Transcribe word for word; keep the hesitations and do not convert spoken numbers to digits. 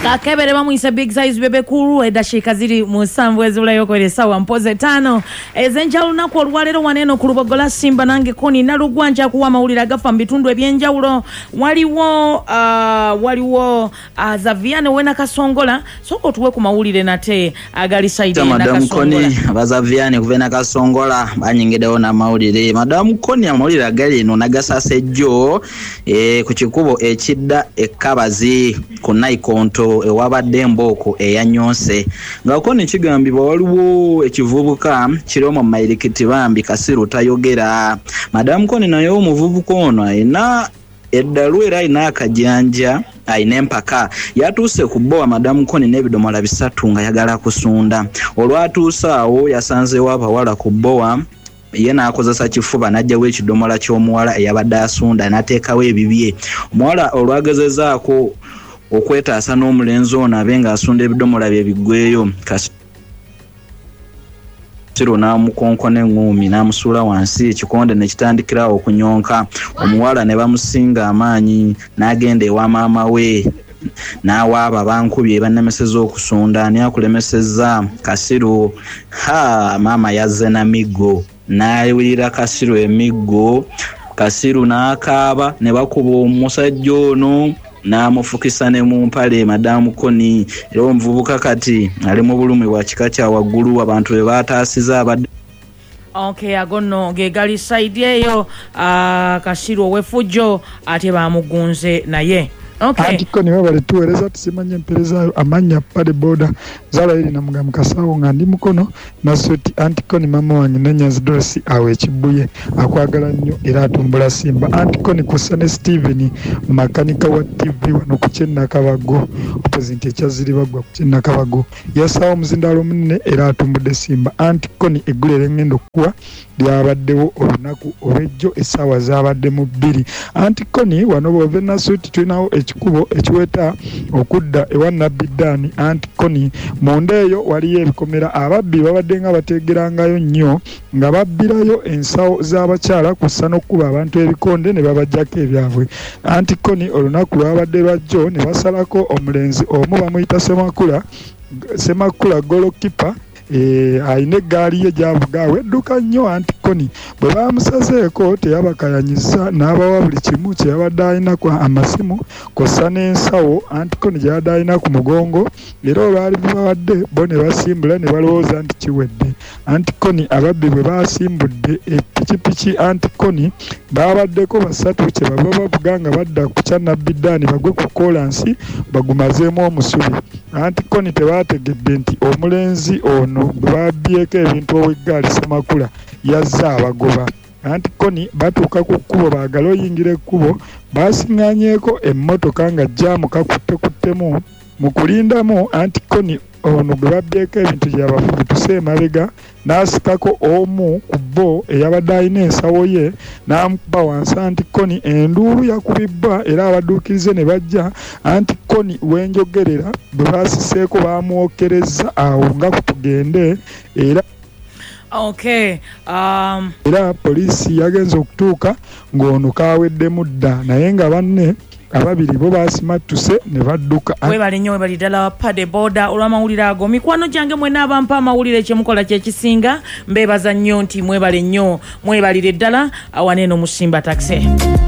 Kakebere bamuyise Big Size Bebe Cool. Eddakiika ziri musanvu ezibulayo okwera essaawa mpozi ttaano ez'enkya lunaku olwaleero waneeno ku Lubogola Simba. Nange Koni Nalugwa njakuwa amawulire agafa mu bitundu ebyenjawulo. Waliwo uh, waliwo uh, Zaviane we Nakasongola, sooka otuwe ku mawulire nate agali side ya Madam Koni. Abazaviane kuva Nakasongola banyingiddewo n'amawulire. Madam Koni, amawulire agali eno nagasasa ejjo e, ku kikubo ekidda ekkabazi ku Naikonto ewabadde embooko eyanyonse nga Koni kigambibwa waliwo ekivubuka kiri omwo mu mayirikiti bambi kasiru tayogera. Madam Koni, naye omuvubuka ono ayina eddalu era ayina akajanja, ayina empaka. Yatuuse ku bbowa, Madamu Koni, n'ebidomola bisatu nga yagala kusunda. Olwatuuse awo yasanzeewo abawala ku bbowa, ye n'akozesa kifuba n'aggyawo ekidomola ky'omuwala eyabadde asunda n'ateekawo ebibye. Omuwala olwagezezaako okwetaasa n'omulenzi ono abe ng'asunda ebidomola bye biggweyo, Kasiru n'amukonkona eŋŋuumi n'amusuula wansi, ekikonde ne kitandikirawo okunyonka. Omuwala ne bamusinga amaanyi n'agenda ewa maama we n'awaaba, "Bankubye, bannemesezza okusunda, ani akulemesezza?" Kasiru. Ha, maama yazze na miggo n'ayiwirira Kasiru emiggo. Kasiru n'akaaba ne bakuba omusajja ono n'amufukisa ne mu mpale, Madamu Koni. Era omuvubuka kati ali mu bulumi bwa kika kya waggulu, abantu be baataasiza abadde Okay, ago nno ge gali side eyo. uh, kasiru ow'effujjo ate bamugunze naye. Okay. Anti Koni, webale tuweereza, tusimanye empeerezaayo. Amannya Pade Boda Zala eri Namuga Mukasawo nga ndi Mukono Nasoti. Anti Koni, mama wange Nanyanzi Dorothy awo Ekibuye akwagala nnyo era atumbula Simba. Anti Koni, kussa ne Steven makanika wa T V wano ku Kyennakabago, opposite ekyaziribaggwa ku Kyennakabago, yasaawo omuzindaalo omunene era atumbudde Simba. Anti Koni, eggulo erengendo okuwa lyabaddewo olunaku olw'ejjo, essaawa zaabadde mu bbiri. Anti Koni, wano bw'ova Nasuuti tulinawo ekikubo ekiweta okudda ewa Nabbi Ddaani. Anti Koni, munda eyo waliyo ebikomera, ababbi babadde nga bateegerangayo nnyo nga babbirayo ensawo z'abakyala kw'ossa n'okkuba abantu ebikonde ne babaggyako ebyabwe. Anti Koni, olunaku lwabadde lwajjo ne basalako omulenzi omu bamuyita Semakula, Semakula golokipa, alina eggaali ye gy'avuga awo edduka nnyo. Anti Koni, bwe baamusazeeko teyabakayanyizza n'abawa buli kimu kye yabadde alina, amasimu kw'ossa n'ensawo anti Koni gye yabadde alina ku mugongo. Era olwali bubawadde bo ne basimbula ne balowooza nti kiwedde. Anti Koni, ababbi bwe baasimbudde epikipiki, anti Koni, baabaddeko basatu, kye bava bavuga nga badda ku kya Nabbi Ddaani bagwe ku koolansi bagumazeemu omusubi. Anti Koni, tebaategedde nti omulenzi ono gwe babbyeko ebintu ow'eggaali Semakula yazze abagoba. Anti Koni, batuuka ku kkubo baagale oyingira ekkubo, baasiŋŋaanyeeko emmotoka nga jjaamu kakuttekuttemu mu kulindamu. Anti Koni, ono gwe babbyeko ebintu gye yabafubutuse emabega n'asikako omu ku bo eyabadde alina ensawo ye n'amukuba wansi. Anti Koni, enduulu yakubibbwa era abadduukirize ne bajja. Anti Koni, wenjogerera bwe baasiseeko baamwokerezza awo nga kutugende era Okay. Um... era poliisi yagenze okutuuka ng'ono kaaweddemu dda, naye nga banne ababiri bo baasimattuse ne badduka. Webale nnyo, webale ddala Pade Boda olw'amawulire ago. Mikwano gyange mwenna abampa amawulire, kyemukola kyekisinga, mbeebaza nnyo nti mwebale nnyo, mwebalire ddala awaneeno mu Simba Taxi.